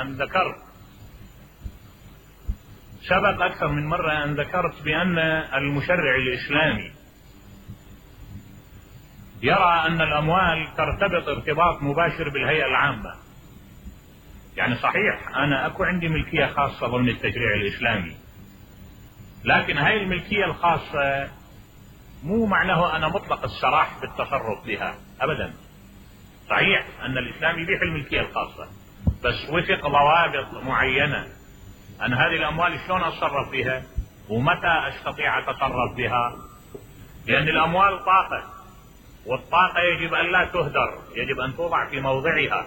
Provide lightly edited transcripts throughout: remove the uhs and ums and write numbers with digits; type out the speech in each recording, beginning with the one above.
أن ذكرت سبق أكثر من مرة أن ذكرت بأن المشرع الإسلامي يرى أن الأموال ترتبط ارتباط مباشر بالهيئة العامة. يعني صحيح أنا أكو عندي ملكية خاصة ضمن التشريع الإسلامي، لكن هاي الملكية الخاصة مو معناه أنا مطلق السراح بالتصرف بها أبدا. صحيح أن الإسلام يبيح الملكية الخاصة، بس وفق ضوابط معينة. أنا هذه الأموال شلون أتصرف بها ومتى أستطيع أتصرف بها؟ لأن الأموال طاقة، والطاقة يجب أن لا تهدر، يجب أن توضع في موضعها.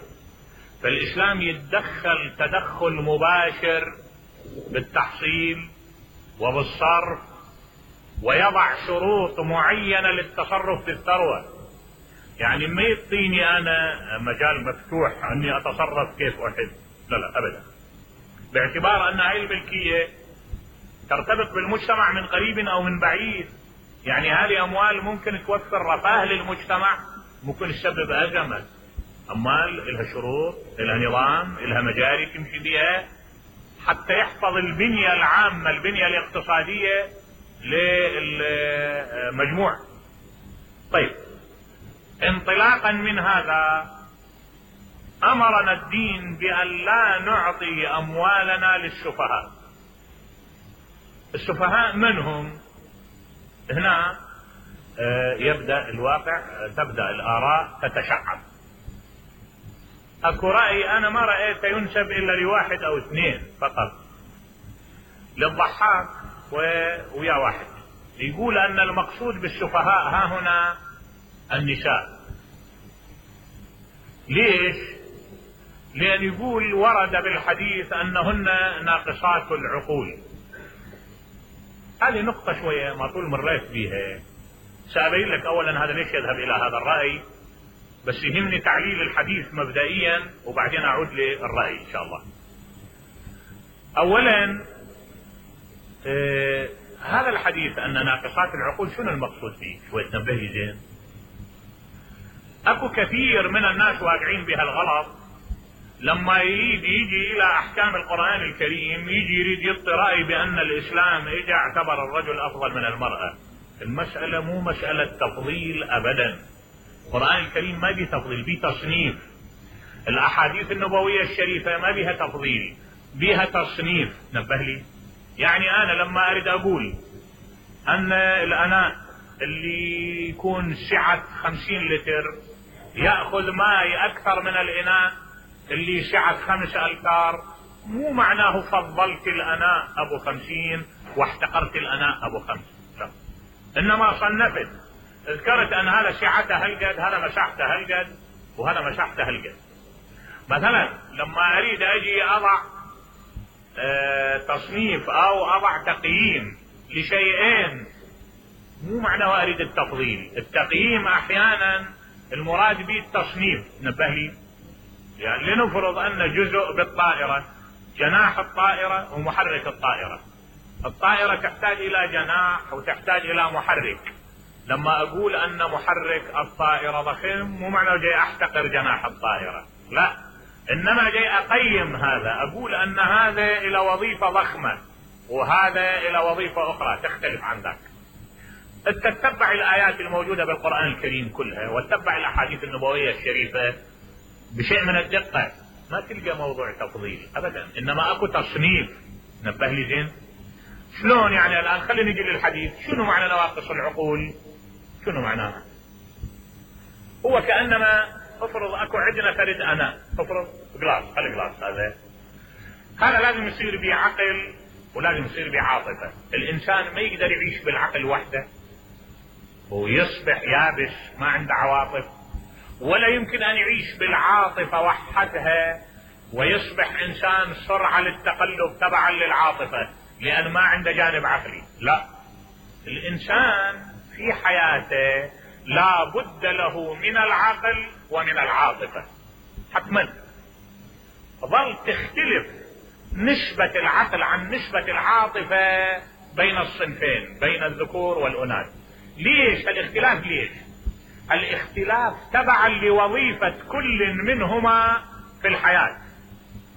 فالإسلام يتدخل تدخل مباشر بالتحصيل وبالصرف، ويضع شروط معينة للتصرف بالثروة. يعني ما يعطيني أنا مجال مفتوح أني أتصرف كيف أحب، لا لا أبدا، باعتبار أن هذه الملكية ترتبط بالمجتمع من قريب أو من بعيد. يعني هذه أموال ممكن توفر رفاه للمجتمع، ممكن تسبب أزمة. أموال لها شروط، لها نظام، لها مجاري تمشي بها حتى يحفظ البنية العامة، البنية الاقتصادية للمجموع. طيب، انطلاقا من هذا أمرنا الدين بأن لا نعطي أموالنا للسفهاء. السفهاء من هم؟ هنا يبدأ الواقع، تبدأ الآراء تتشعب. اكو رأي انا ما رأيت ينسب الا لواحد او اثنين فقط، للضحاك ويا واحد، يقول ان المقصود بالسفهاء ها هنا النساء. ليش؟ لان يقول ورد بالحديث انهن ناقصات العقول. هذه نقطة شوية ما طول مريت بيها، سأبين لك اولا هذا ليش يذهب الى هذا الرأي، بس يهمني تعليل الحديث مبدئيا وبعدين اعود للرأي ان شاء الله. اولا هذا الحديث ان ناقصات العقول شنو المقصود فيه؟ شوي تنبه لي زين. اكو كثير من الناس واقعين بها الغلط، لما يجي الى احكام القرآن الكريم يريد يعطي رأي بان الاسلام اجى اعتبر الرجل افضل من المرأة. المسألة مو مسألة تفضيل ابدا، القرآن الكريم ما بيه تفضيل، بيه تصنيف. الاحاديث النبوية الشريفة ما بيها تفضيل، بيها تصنيف. نبه لي. يعني انا لما اريد اقول ان الاناء اللي يكون سعة 50 لتر يأخذ ماء اكثر من الاناء اللي سعة 5 أمتار، مو معناه فضلت الاناء ابو 50 واحتقرت الاناء ابو 5، لا. انما صنفت، ذكرت ان هذا سعته هالقد، هذا مساحته هالقد، وهذا مساحته هالقد. مثلا لما اريد اجي اضع تصنيف او اضع تقييم لشيئين، مو معناه اريد التفضيل. التقييم احيانا المراد به التصنيف. نبه لي. يعني لنفرض ان جزء بالطائرة، جناح الطائرة ومحرك الطائرة. الطائرة تحتاج الى جناح وتحتاج الى محرك. لما اقول ان محرك الطائرة ضخم مو معناه جاي احتقر جناح الطائرة، لا، انما جاي اقيم هذا، اقول ان هذا الى وظيفة ضخمة وهذا الى وظيفة اخرى تختلف عن ذاك. تتبع الايات الموجودة بالقرآن الكريم كلها وتتبع الاحاديث النبوية الشريفة بشيء من الدقة، ما تلقى موضوع تفضيل ابدا، انما اكو تصنيف. نبه لي زين. شلون يعني؟ الان خلينا نجي للحديث. شنو معنى نواقص العقول؟ شنو معناها؟ هو كأنما افرض اكو عندنا فرد انا، افرض جلاس، هالجلاس هذا لازم يصير به عقل ولازم يصير به عاطفة. الانسان ما يقدر يعيش بالعقل وحده ويصبح يابس ما عنده عواطف، ولا يمكن ان يعيش بالعاطفة وحدها ويصبح انسان سرعة للتقلب تبعا للعاطفة لان ما عنده جانب عقلي. لا، الانسان في حياته لا بد له من العقل ومن العاطفة حتما. ظل تختلف نسبة العقل عن نسبة العاطفة بين الصنفين، بين الذكور والاناث. ليش الاختلاف؟ ليش الاختلاف؟ تبعا لوظيفة كل منهما في الحياة.